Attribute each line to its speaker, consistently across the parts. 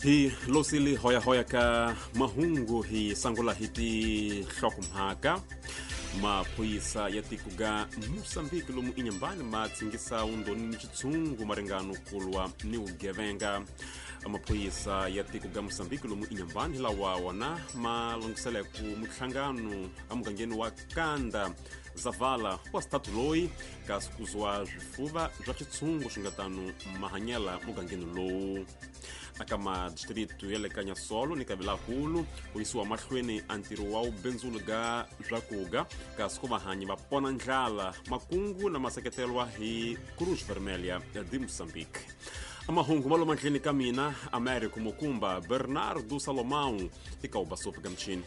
Speaker 1: Hi losile hoyahoya ka mahungu hi sangula hi tinhlokomhaka. Maphorisa ya tiko ga Mozambique lomu inyambani ma tsingisa undoni ni xitshungu maringano kulwa ni vugevenga. Maphorisa ya tiko ga Mozambique lomu inyambani hi lawa wona ma lunghiseleku muhlangano emugangeni wa Kanda Zavala wa xitatu loyi kasi kuzwa swifuva swa xitshungu swi nga tano mahanyela mugangeni lowu. Aka madistritu ya le ka Nyasolo ni Kavilakulu ku yisiwa mahlweni a ntirho wa vubindzuli ga swakuga kasi ku vahanyi va pona ndlala makungu na maseketelwa hi Cruz Vermelha ya de Mozambique. Mahungu ma lo mandleni ka mina Américo Mukumba Bernardo Salomão eka ubasopi ka michini.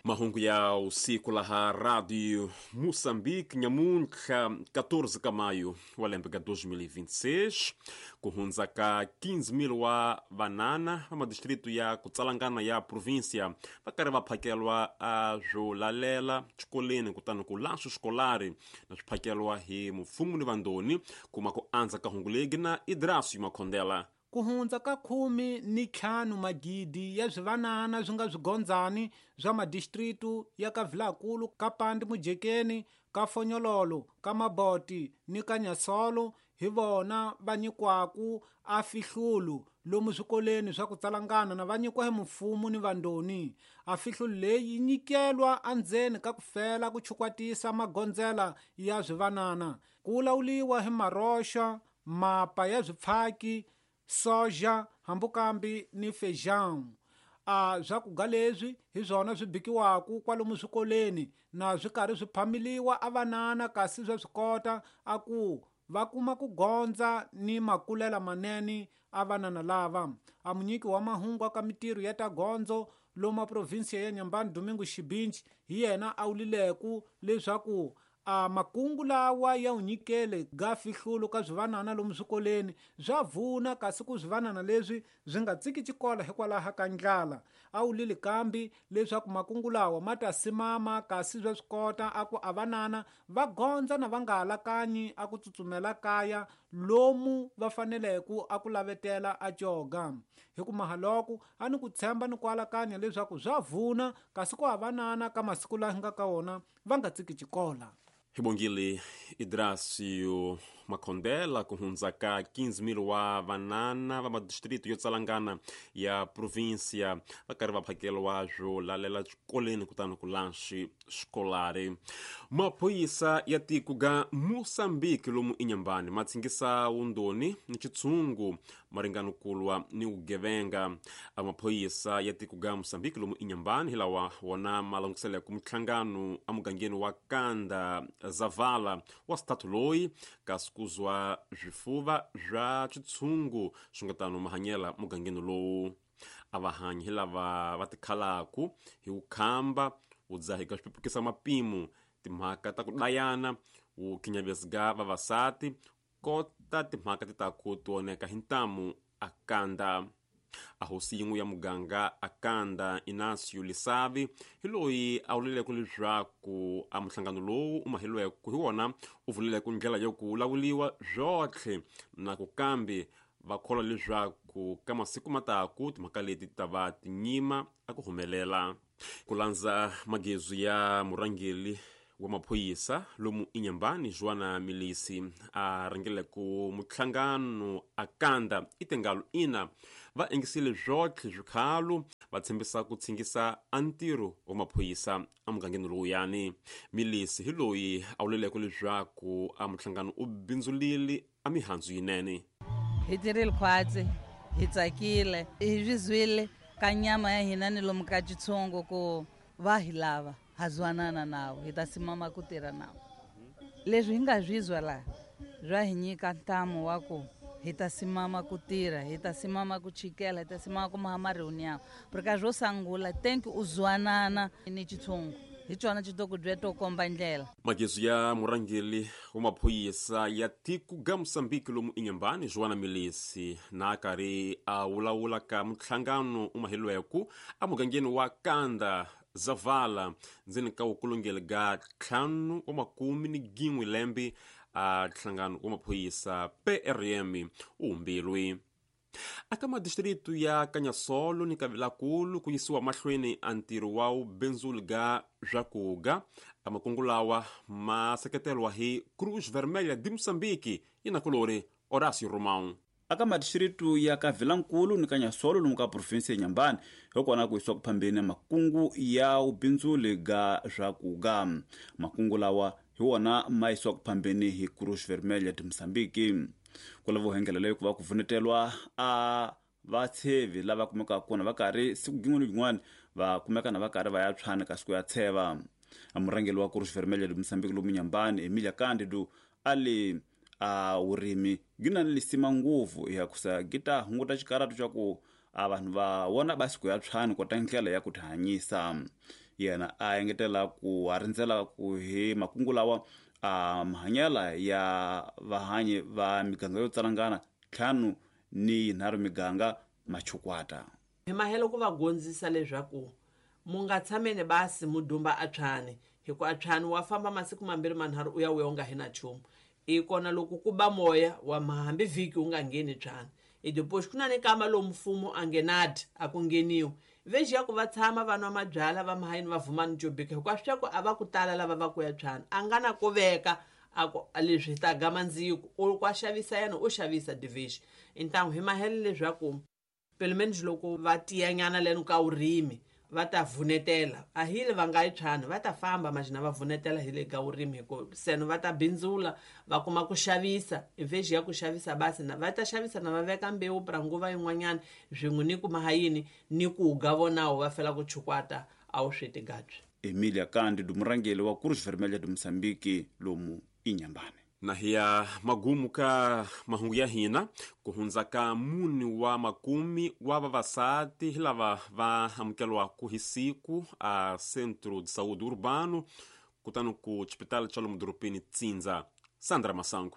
Speaker 1: Mahungu ya usiku laha Radio Moçambique nyamuntlha 14 ka maio wa lembe ka 2026 ku hundza ka 15,000 wa vanana va madistritu ya ku tsalangana ya província va karhi va phakelwa a swo lalela xikoleni kutani ku lanxo xikolari na swi phakelwa hi mfumo ni vandoni kuma ku andza ka hungu legi na Idrasio Makhondela.
Speaker 2: Ku hundza ka 15 magidi ya swivanana swi nga swigondzani swa madistritu ya ka Vilakulu, ka Pandi Mujekeni, ka Fonyololo, ka Maboti ni ka Nyasolo hi vona va nyikwaku a fihlulu lomu swikoleni swa ku tsalangana na va nyikwa hi mfumo ni vandoni. A fihlulu leyi yi nyikelwa endzeni ka ku fela ku chukwatisa magondzela ya swivanana, ku lawuliwa hi maroxa, mapa ya swipfhaki, soja hambukambi ni feijão. A swakudya leswi hi swona swi bikiwaka kwalomu swikoleni na swi karhi swi phamiliwa a vanana kasi swa swi kota a ku va kuma ku gondza ni makulela manene a vanana lava. A munyiki wa mahungu ka mitirho ya ta gondzo lomu provinsia ya Nyambani Domingo Xibinji hi yena a wulileku leswaku a makungu lawa ya unyikele ga fihlulu ka swivanana lomu swikoleni swa vuna kasi ku swivanana leswi swi nga tsiki xikolo hikwalaho ka ndlala. A wulile kambi leswaku makungu lawa ma ta simama kasi swa swi kota a ku a vanana va gondza na va nga alakanyi a ku tsutsumela kaya lomu va faneleke a ku lavetela a coga. Hi ku mahaloko a ni ku tshemba ni ku alakanya leswaku swa vuna kasi ku a vanana ka masiku laha nga ka wona va nga tsiki xikolo.
Speaker 1: Hi bongile Idrasio Makhondela ku hundza ka 15,000 wa vanana va madistritu yo tsalangana ya província va karhi va phakeliwa swo lalela xikoleni kutani ku lanxi xikolari. Maphorisa ya tiko ga Mozambique lomu inyambani ma tsingisa wundoni ni xitshungu maringano kulwa ni vugevenga. Maphorisa ya tiko ga Mozambique lomu inyambani hi lawa wona ma languseleke muhlangano emugangeni wa Kanda Zavala wa xitatu loyi kasi kuzwa swifuva swa xitshungu swi nga tano mahanyela mugangeni lowu. A va hanyi hi lava va tikhalaku hi vukhamba, vudzahi ka swipepukisa mapimo, timhaka ta ku dayana, vukhinyavesi ga vavasati, kota timhaka ti ta ku tioneka hi ntamu a Kanda. A hosi yin'we ya muganga a Kanda Inacio Lisavi hi loyi a vuleleke leswaku a muhlangano lowu u maheliweke hi wona u vuleleke ndlela yo ku lawuliwa swotlhe na ku kambe va kholwa leswaku ka masiku mataku timhaka leti ta va tinyima a ku humelela. Ku landza magezu ya murhangeri wa maphorisa lomu inyambani Joana Milisi a rhangeleke muhlangano a Kanda i tengalo ina va engisile swotlhe swikhalo va tshembisa ku tshingisa a ntirho wa maphorisa emugangeni lowuyani. Milisi hi loyi a vuleleke leswaku a muhlangano u bindzulile a mihandzu yinene.
Speaker 3: Hi tirhile khwatsi, hi tsakile, hi swi zwile ka nyama ya hina ni lomu ka xitshungu ku va hi lava ha zwanana nawo, hi ta simama ku tirha nawo. Leswi hi nga swi zwa laha swa hi nyika ntamu wa ku hi ta simama ku tirha, hi ta simama ku chikela, hi ta simama ku maha mareunião. Porque swo sungula thank u zwanana ni xitshungu hi xona xi to ku bya to komba ndlela.
Speaker 1: Magezu ya murhangeri wa maphorisa ya tiko ga Mozambique lomu inyambani Joana Milisi na karhi a vulavula ka muhlangano u maheliweke emugangeni wa Kanda Zavala ndzeni ka vukulungeli ga 51 lembe A nhlangano wa maphorisa PRM u humbilwe. Aka madistritu ya Kanyasolo ni Kavilakulu ku yisiwa mahlweni a ntirho wa vubindzuli ga swakuga. A makungu lawa ma seketelwa hi Cruz Vermelha de Moçambique yi na kulori Horácio Romão.
Speaker 4: Aka madistritu ya Kavilankulu ni Kanyasolo lomu ka provinsi ya Nyambani hikona ku yisiwa kuphambeni makungu ya vubindzuli ga swakuga. Makungu lawa hi wona ma yisiwa kuphambeni hi Cruz Vermelha de Moçambique. Ku lava vuhengela leyi ku va ku vunetelwa a vatshevi lava kumekaka kona va karhi siku gin'wana ni gin'wana va kumeka na va karhi va ya tshwana kasi ku ya tsheva. Murhangeri wa Cruz Vermelha de Moçambique lomu Nyambani Emilia Cândido a li a vurimi gi na ni lisima ngopfu ya kusa gi ta hunguta xikaratu xa ku a vanhu va vona basi ku ya tshwani kota ndlela ya ku tihanyisa. Yena a engetela ku a rindzela ku hi makungu lawa a mahanyela ya vahanyi va miganga yo tsalangana 5 ni 3 miganga machukwata.
Speaker 5: Hi mahelo ku va gondzisa leswaku mu nga tshameni basi mu dumba a tshwani, hikuva a tshwani wa famba masiku mambirhi manharhu u ya u ya u nga hi na nchumu. I kona loko ku ba moya wa hambi vhiki u nga ngheni tshwani. I depois ku na ni kama lomu mfumo a ngenadi a ku ngheniwi. Veji ya ku va tshama va nwa mabyalwa va mahayini va vuma ni jobika hikuva swi ku a va ku tala lava va ku ya tshwani. A nga na ku veka a ku leswi hi ta gama ndziko u kwa xavisa yena u xavisa division. Então hi mahelo leswaku pelo menos loko va tiyanyana leno ka vurimi va ta vunetela a hi le va nga yi tshwani va ta famba majina va vunetela hi le ka vurimi hikuva seno va ta bindzula va kuma ku xavisa veji ya ku xavisa basi na va ta xavisa na va veka mbewu pra nguva yin'wanyana swin'we ni ku mahayini ni ku ga vonawo va fela ku chukwata a wu swi tigatswi.
Speaker 4: Emilia Cândido murhangeri wa Cruz Vermelha de Moçambique lomu Inhambane.
Speaker 1: Na hiya magumu ka mahungu ya hina ku hundza ka mune wa makumi wa vavasati hi lava va amukelwaku hi siku a Centro de Saúde Urbano kutani ku xipitali xa lomu dorobeni Tsindza. Sandra Masango.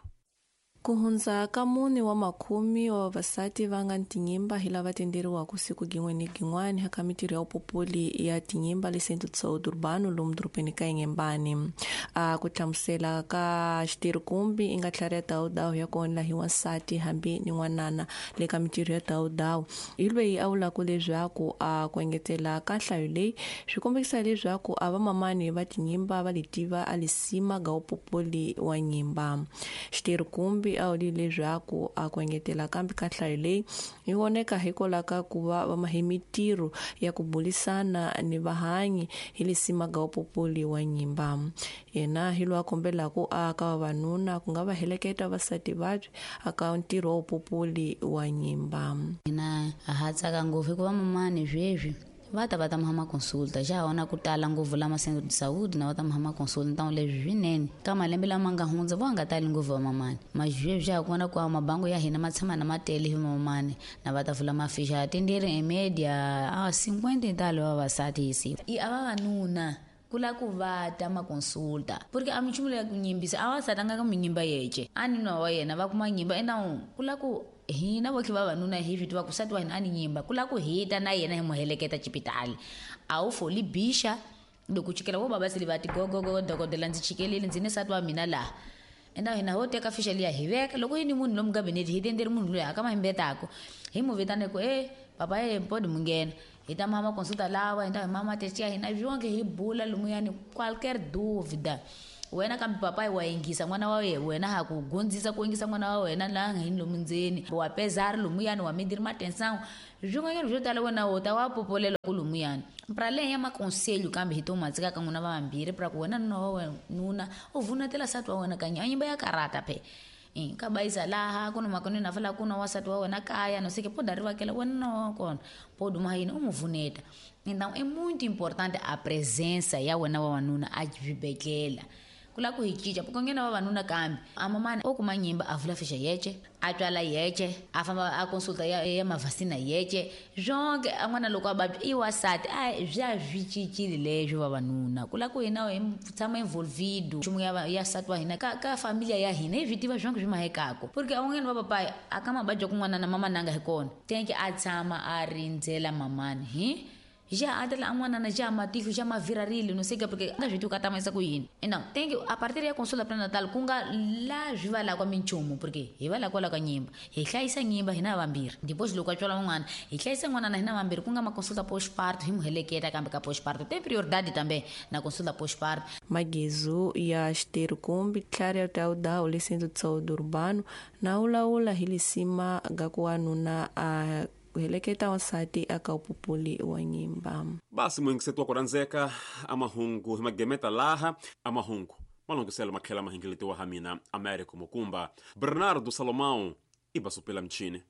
Speaker 6: Ku hundza ka mune wa makumi wa vavasati va nga tinyimba hi lava tenderiwaka siku gin'we ni gin'wana eka mitirho ya vupopoli ya tinyimba le Centro de Saúde Urbano lomu dorobeni ka Inhambane. A ku hlamusela ka xitirhikumbi i nga tlhari ya dawudawu ya kona hi wansati hambi ni n'wanana le ka mitirho ya dawudawu. Hi loyi a vulaka leswaku a ku engetela ka nhlayo leyi swi kombekisa leswaku a vamamani va tinyimba va letiva a lisima ga vupopoli wa nyimba. Xitirhikumbi a wuli leswaku a ku engetela kambe ka nhlayo leyi yi voneka hikwalaho ka ku va va mahe mitirho ya ku bulisana ni vahanyi hi lisima ga vupopoli wa nyimba. Yena hi loyi a kombelaka a ka vavanuna ku nga va heleketa vavasati vabyi aka ntirho wa vupopoli wa nyimba.
Speaker 7: Hina ha tsaka ngopfu hikuva mamani sweswi va ta va ta mahama consulta xa ha vona ku tala ngopfu lama Centro de Saúde na va ta mahama consulta ntawu leswi swinene ka malembe lama nga hundza vo nga tali ngopfu va mamani mazweswi xa ha kona ku mabango ya hina ma tshama na ma tele hi mamani na va ta vula mafixa tenderi e media a 50 talo va vavasati hi siku i a vavanuna kula ku va ta ma consulta porque a minchumu leya ku nyimbisa a va satanga ka minyimba yece a ni nwa wa yena va kuma nyimba enawu kula ku hina votlhe vavanuna hi swi tiva ku nsati wa hina a ni nyimba ku lava ku hita na yena hi mu heleketa xipitali a wu foli bixa loko chikela vo baba sele va ti gogogo dokodela ndzi chikelile ndzi ni nsati wa mina laha enda hina ho teka fixa liya hi veka loko yi ni munhu lomu gabinete hi tenderi munhu loyi a ka ma himbetako hi mu vitane ku e papa e podi mu nghena hi ta mama consulta lawa hi ta hi mama test ya hina swonke hi bula lumuyani qualquer dúvida wena kambe papai wa yingisa n'wana wa wena ha ku gondzisa ku yingisa n'wana wa wena laha nga yini lomu ndzeni wa pezari lumuyani wa midiri matensangu swin'wanyana swo tala wena wo ta wa popolela ku lumuyani pra leyi ya makonselho kambe hi to matsika ka n'wina vambirhi pra ku wena nuna wa wena nuna u vunetela nsati wa wena kanye a nyimba ya karata phe ka bayisa laha ku na makoneni a fala ku na wansati wa wena kaya no seke poda ri vakela wena na wa kona poduma yini u mu vuneta. Então é muito importante a presença ya wena wa wanuna a xibedhlele ku lava ku hi cinca porque nghena vavanuna kambe a mamani o kuma nyimba a vula fixa yece a tswala yece a famba a consulta ya mavhasina yece swonke a n'wana loko a vabya i wansati a swi a swi cincile leswo vavanuna ku lava ku hina hi tshama involvido nchumu ya nsati wa hina ka familia ya hina hi swi tiva swonke swi mahekako porque a un'wanyana va papayi a ka mababya kun'wana na mama nanga hi kona tenke a tshama a rindzela mamani hi Já atela a n'wanana já matihlo já mavirarile no sei que porque nga swi tivi ka tamayisa ku yini. Então tem que a partir ya consulta pré-natal ku nga la swi va lakwa minchumu, porque hi va lakwa ka nyimba, hi hlayisa nyimba hina vambirhi. Depois loko a tswala n'wana, hi hlayisa n'wanana hina vambirhi, ku nga ma consulta postparto, hi mu heleketa kambe ka postparto tem prioridade também na consulta postparto.
Speaker 6: Magezu ya xiteru kumbi tlhari ya taudawu le Centro de Saúde Urbano na ulawula hi lisima ga ku wanuna a heleketa wansati aka upupuli wa nyimba.
Speaker 1: Basi muyingiseti wa ku rhandzeka, amahungu hi magemeta laha amahungu malungiselo matlhela mahingeletiwa ha mina Americo Mukumba. Bernardo Salomão i basupela mchini.